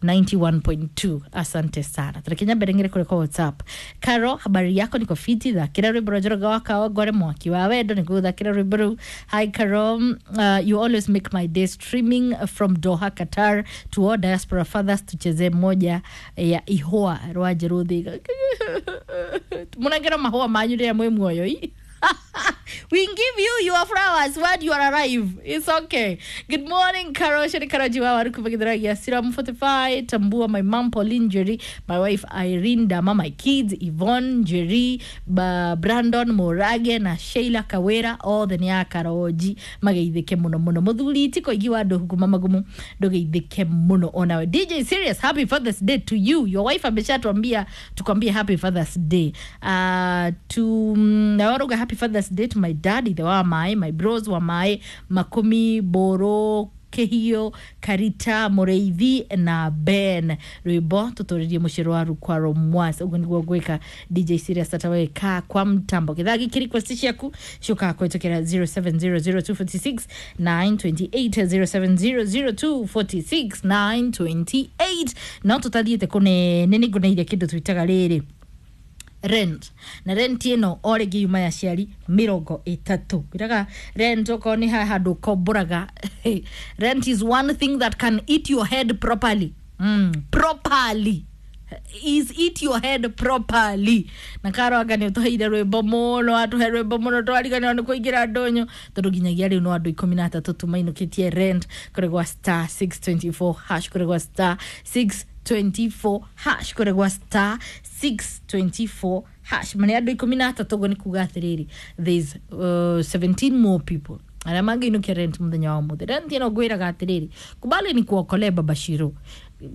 91.2. Asante sana. Tũrekinya mbere ng'ire kũrĩ kwa WhatsApp. Caro, habari yako? Niko fiti. Thakĩra rwĩmbo rwa Njoroge wa Kawangware, Mwaki wa Wendo. Nĩngũgũthakĩra rwĩmbo rũu. Hi Caro, you always make my day streaming from Doha, Qatar. To all diaspora fathers, tuchezee moja ya ihũa rwa Njerũ Thĩga. Mũnengere mahũa manyu rĩrĩa mwĩ muoyo ii. We give you your flowers when you are alive. It's okay. Good morning, Carol. Sheri Karajiwa Warukubagidharagia Siram 45. Tambua, my mom Pauline Jerry, my wife Irene Dama, my kids Yvonne Jerry, Brandon Morage na Sheila Kawera, othe nĩ a Karoji mageithĩke mũno mũno. Mũthuri ti koigi wa andũ kuma magumu, ndũgeithĩke mũno onawe. DJ Serious, happy Father's Day to you. Your wife ameshatuambia tukwambie happy Father's Day. To nawaruga happy Father's Day to my dad ithe wa mae, my bros wa mae, Makumi Boro, Kehio Karita, Mũrĩithi na Ben. Rwĩmbo tũtũrĩrie mũciĩ rwa Rukwaro Mwas. Ũguo nĩguo gwĩka DJ Serious ataweka kwa mtambo. Gĩthaa gĩkĩ request ciaku ciũkaga kũhĩtũkĩra 0700 246 928, 0700 246 928. No tũtathiĩte kũnene nĩ ngũneire kĩndũ twĩtaga rĩrĩ rent, na rent ĩno o rĩngĩ yuma ya ciari 30. Kwĩraga rent okorwo nĩ haha handũ ũkomboraga, rent is one thing that can eat your head properly, properly is eat your head properly. Na karwanga nä å tåheire rwä mbo må no, atåhe rwä mbo må no, twariganä nä kå ingä ra ndånyå, tondå nginyagia rä u no andå 13 tu mainå kä tie rent kå gwa star 624 hash, kå gwa star 624 hash, kå gwa star 624 hash. Manä andå 13 guo nä kuga atä rä rĩ, there's 17 more people arĩa mangĩinũkia rent mũthenya wa ũmũthĩ. Rent ĩno ngwĩraga atĩrĩrĩ, kubali ni kuokolee baba Shiro.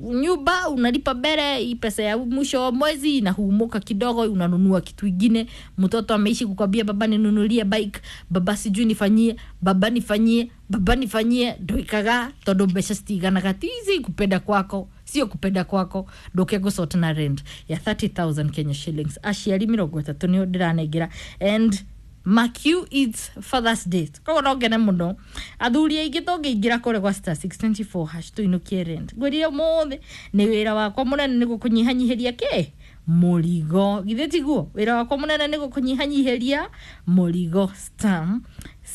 Nyumba unalipa mbele, hii pesa ya mwisho wa mwezi inahumuka kidogo, unanunua kitu ingine. Mtoto ameishi kukwambia baba ninunulie bike, baba sijui nifanyie, baba nifanyie, baba nifanyie, ndoikaga tondu mbeca citiganaga. Tizi kupenda kwako sio kupenda kwako, nduke gũcota na rent ya 30,000 Kenya shillings. Aciari 30 nĩo ndĩranengera, and mark you, it's Father's Day, koguo no ngene mũno athuri aingĩ tũngĩingĩra kũrĩa gwa star 624 hash tũinũkie rent. Ngwĩrire ũmũthĩ nĩ wĩra wakwa mũnene nĩ gũkũnyihanyihĩria kĩ mũrigo, githĩ tiguo? Wĩra wakwa mũnene nĩ gũkũnyihanyihĩria mũrigo. Star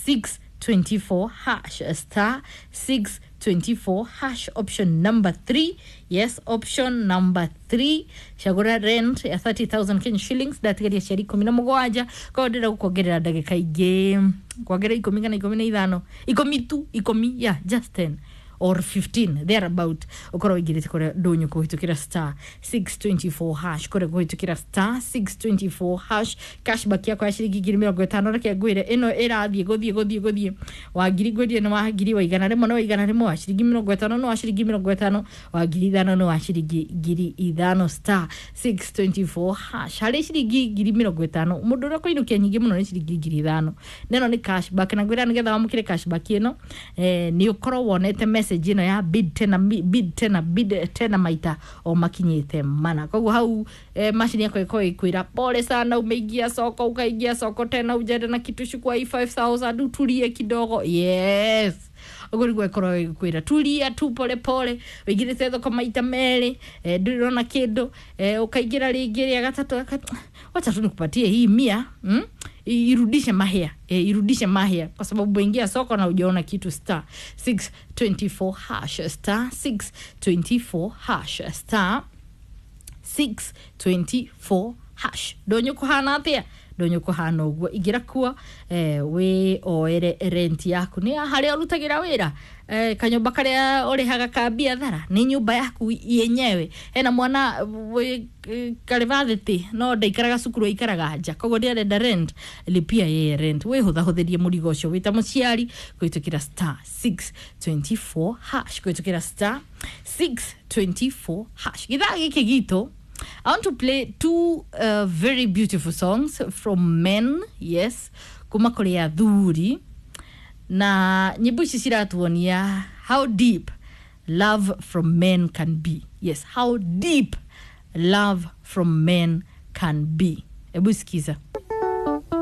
624 hash, star 624 hash, option number 3. Yes, option number 3, cagũra rent ya 30,000 Kenya shillings. Ndatigaria ciari 17, koguo ndĩrenda gũkuongerera ndagĩka ingĩ, kuongerera 10 kana 15, 10 tu, 10, yeah, just 10 or 15 thereabout, ukorwo ũingĩrĩte kũrĩa ndũnyũ kũhĩtũkĩra star 624 hash, kũrĩa kũhĩtũkĩra star 624 hash. Cashback yakwa ya ciringi 50,000, reke ngwĩre ĩno ĩrathiĩ gũthiĩ gũthiĩ gũthiĩ. Wa ngiri ngwĩrire nĩ wa ngiri, wa 100 nĩ wa 100, wa ciringi 50 nĩ wa ciringi 50, wa 5,000 nĩ wa ciringi 5,000. Star 624 hash, harĩ ciringi 50,000, mũndũ ũrĩa ũkũinũkia nyingĩ mũno nĩ ciringi 5,000, na ĩno nĩ cashback. Na ngwĩra nĩgetha wamũkĩre cashback ĩno, nĩ ũkorwo wonete message ĩno ya bid tena, bid tena, bid tena maita o makinyĩte mana. Koguo hau macini yakwa ĩkorwo ĩkwĩra pole sana, umeingia soko, ukaingia soko tena, ujende na kitu, chukua hii 5000 utulie kidogo. Yes, ũguo nĩguo ĩkorwo ĩkwĩra tulia tu pole pole, ũingĩrĩte thoko maita merĩ, ndũrĩ ũrona kĩndũ, ũkaingĩra rĩngĩ rĩa gatatũ, wacha tu nikupatie hii 100, Irudishe mahia, irudishe mahia kwa sababu ingia soko na ujaona kitu. Star 624 hash, star 624 hash, star 624 hash. Ndonyo kuhana atia? Ndonyo kuhana ũguo. Ingĩra kuo, wĩ oere rent yaku. Nĩ harĩa ũrutagĩra wĩra, kanyũmba karĩa ũrĩhaga ka biathara, nĩ nyũmba yaku yenyewe, hena mwana wĩ karĩbathĩtĩ no ndaikaraga cukuru, aikaraga nja, koguo ndĩarenda rent, lipia yeye rent, wĩhũthahũthĩrie mũrigo ũcio wĩta mũciari kũhĩtũkĩra star 624 hash, kũhĩtũkĩra star 624 hash. Gĩthaa gĩkĩ gitũ, I want to play two very beautiful songs from men, yes, kuma kũrĩ athuri, na nyĩmbo ici ciratuonia how deep love from men can be. Yes, how deep love from men can be. Hebu sikiza.